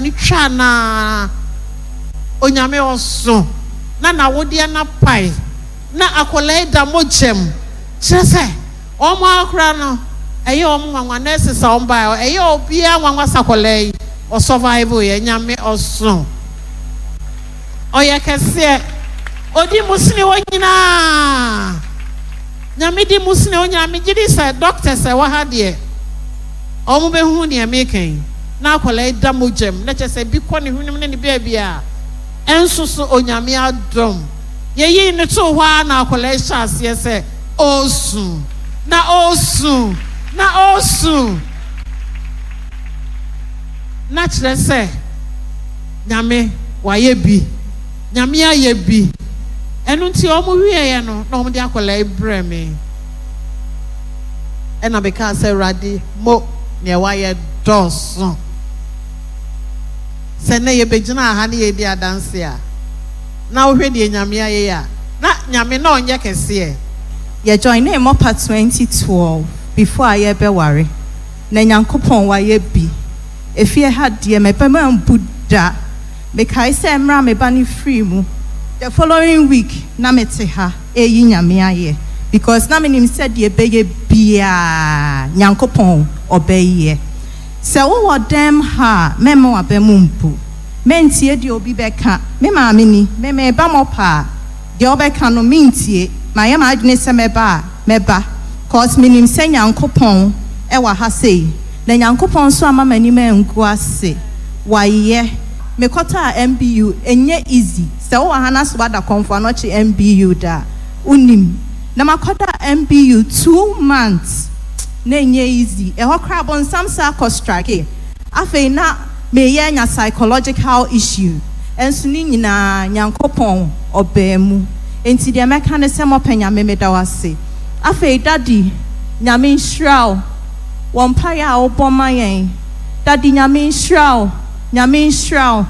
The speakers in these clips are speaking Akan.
no twaa no ara, Onyame ɔso, na n'awodeɛ no apae, na akwadaa yi da mogya mu, kyerɛ sɛ wɔn ara koraa no ɛyɛ wɔn nwanwa, nurses a wɔn baeɛ hɔ, ɛyɛ obiara nwanwa sɛ akwadaa yi ɔ survive yɛ, Nyame ɔso. Ɔyɛ kɛseɛ. Ɔdi mu sene wɔn nyinaa. Nyame di mu sene wɔn nyinaa. Megye di sɛ doctors a ɛwɔ ha deɛ, wɔn bɛhu deɛ meka yi. Na akwadaa yi da mogya mu, na kyerɛ sɛ bi kɔ ne hwenem ne ne baabiara. Ɛnso so Onyame adom. Yɛyii no too hɔ ara na akwadaa yi hyɛɛ aseɛ sɛ ɔresu, na ɔresu, na ɔresu. Na kyerɛ sɛ Nyame wayɛ bi, Nyame ayɛ bi. Ɛno nti wɔn wieɛ no na wɔn de akwadaa yi brɛɛ me. Ɛna me kaa sɛ Awurade mo neɛ wayɛ dɔɔso. Sɛ nnɛ yɛbɛgyinaa ha ne yɛredi adanseɛ a, na wohwɛ deɛ Nyame ayɛ yi a, na Nyame na ɔnyɛ kɛseɛ. Yɛ joinee mɔpa 2012 before a yɛbɛware. Na Nyankopɔn wayɛ bi. Efie ha deɛ mɛba ambu da. Mekae sɛ mmerɛ a me ba no firii mu, the following week na mete ha reyi Nyame ayɛ because na menim sɛ deɛ ɛbɛyɛ biara Nyankopɔn ɔbɛyɛ. Sɛ wowɔ dɛm ha a mɛmma w'aba mu mbu. Mɛntie deɛ obi bɛka. Me maame ni, me meba mɔpa a, deɛ ɔbɛka no mentie. Mayɛ m'adwene sɛ mɛba a, mɛba cos menim sɛ Nyankopɔn wɔ ha sei na Nyankopɔn nso amma m'anim angu ase wayɛ. Mekɔtaa MBU ɛnyɛ easy sɛ wowɔ ha na sɛ woada Kɔmfo Anɔkye MBU da a wonim na makɔda MBU 2 months na ɛnyɛ easy, ɛhɔ koraa bonsam saa kɔ strike. Afei na meyɛ anya psychological issue, ɛnso ne nyinaa Nyankopɔn ɔbaa mu. Enti deɛ mɛka ne sɛ mɔpɛ Nyame, meda wo ase. Afei Daddy, Nyame nhyira wo wɔ mpaeɛ a wobɔ ma yɛn. Daddy, Nyame nhyira wo, Nyame nhyira wo,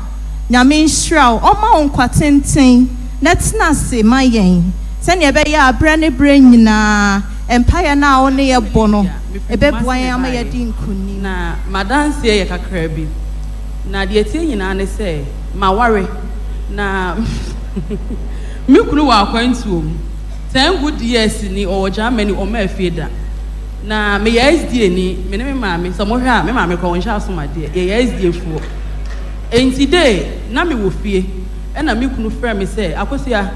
Nyame nhyira wo, ɔmma wo nkwa tenten na tena ase ma yɛn sɛnea ɛbɛyɛ a berɛ ne berɛ nyinaa mpaeɛ no a wo ne yɛ bɔ no ɛbɛboa yɛn ama yɛadi nkonim. Na m'adanseɛ yɛ kakra bi. Na deɛ ɛteɛ nyinaa ne sɛ, maware, na me kunu wɔ akwantuo mu. 10 good years ni ɔwɔ Germany, ɔmmaa fie da. Na meyɛ SDA ni, me ne me maame, sɛ mohwɛ a, me maame koraa ɔnhyɛ asomadeɛ, yɛyɛ SDA foɔ. Enti de, na mewɔ fie, ɛna me kunu frɛ me sɛ, "Akosua,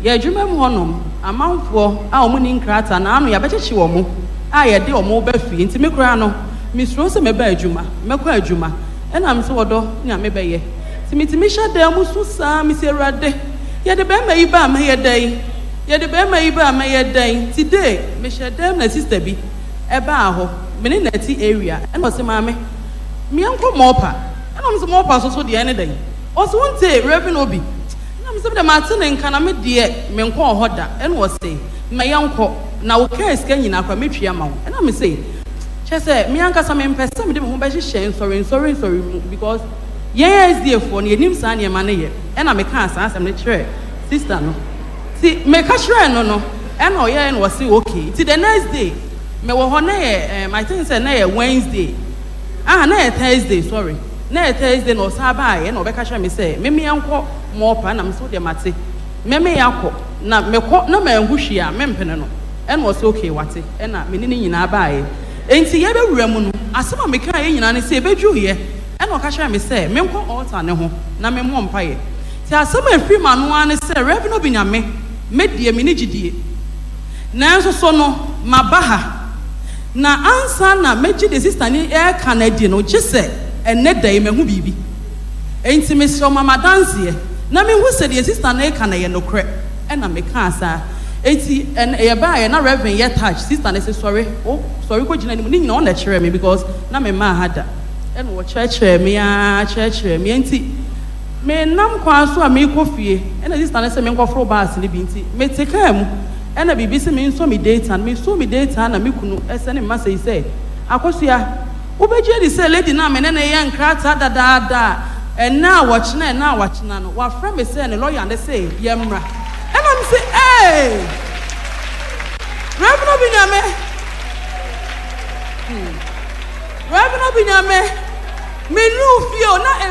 yɛ adwuma mu hɔnom, amanfoɔ a wɔn nni nkrataa na ano yɛabɛkyekye wɔn a yɛde wɔn ba fie. Nti me koraa no, mesuro sɛ mɛba adwuma, mɛkɔ adwuma." Ɛna me sɛ, "Ɔdɔ, nea mebɛyɛ." Nti metumi hyɛ dan mu su saa, mesi, "Awurade, yɛde bɛrima yi ba a mɛyɛ dɛn? Yɛde bɛrima yi ba a mɛyɛ dɛn?" Nti de, mehyɛ dan mu na sister bi ɛbaa hɔ, me ne nati area, ɛna ɔse, "Maame, meɛnkɔ Mɔpa." Ɛna ɔmo sɛ, "Mɔpa so so deɛ ɛne dɛn?" Ɔse, "Wonte Reverend Obi?" Ɛna me sɛ, "Mede mate ne nka na me deɛ menkɔɔ hɔ da." Ɛna ɔse, "Ma yɛnkɔ na wo kaa sika nyinaa koraa mɛtua ma wo." Ɛna me se, kyɛ sɛ me ankasa mempɛ sɛ mede me ho bɛhyehyɛ nsɔre nsɔre nsɔre mu because yɛn SDA foɔ no yɛnim saa nneɛma no yɛ. Ɛna mekaa saa asɛm no kyerɛ sister no. Ti meka kyerɛɛ no, ɛna ɔyɛɛ no, ɔse okay. Nti the next day mewɔ hɔ na yɛ I think sɛ na yɛ Wednesday, ah, na yɛ Thursday, sorry, na yɛ Thursday na ɔsan baayɛ na ɔbɛka kyerɛ me sɛ meme yɛnkɔ Mɔpa. Na mesɛ, "Wodeɛ mate, meme yɛakɔ na mekɔ na manhu hwee a mempene no." Ɛna ɔsɛ okay, wate. Ɛna me ne ne nyinaa baayɛ. Enti yɛbɛwura mu no, asɛm a mekaa yɛ nyinaa ne sɛ yɛbɛdwuiɛ ɛna ɔka kyerɛ me sɛ menkɔ altar ne ho na memmɔ mpaeɛ. Nti asɛm a ɛfiri m'ano ara ne sɛ, "Reverend Obi, Nyame, me deɛ me ne gyidie, nanso so no maba ha na ansa na mɛgye de sister ne ɛreka no adi no, gye sɛ ɛnnɛ da yi mahu biribi. Enti mesrɛ wo, ma m'adanseɛ na mehu sɛ deɛ sister no reka no yɛ nokorɛ." Ɛna mekaa saa. Enti ɛn yɛbaeɛ na Reverend yɛ touch sister no sɛ, "Sɔre, wo sɔre kɔgyina anim." Ne nyinaa ɔna kyerɛɛ me because na memmaa ha da. Ɛna ɔkyerɛkyerɛɛ me ara kyerɛkyerɛɛ me. Enti menam kwan so a merekɔ fie, ɛna sister no sɛ menkɔforo bus no bi. Nti mete kaa mu, ɛna biribi sɛ mensɔ me data no. Mesɔɔ me data na me kunu ɛsɛ ne mma sɛi sɛ, "Akosua, wobɛgye adi sɛ lady no a me ne no yɛ nkrataa dadaada a ɛnɛ a wɔkyena, ɛnɛ a wɔakyena no, wafrɛ me sɛ ne lawyer ne sɛ yɛmmra?" Ɛna me sɛ, "Ee, Reverend Obi Nyame, Reverend Obi Nyame." Menuu fie o na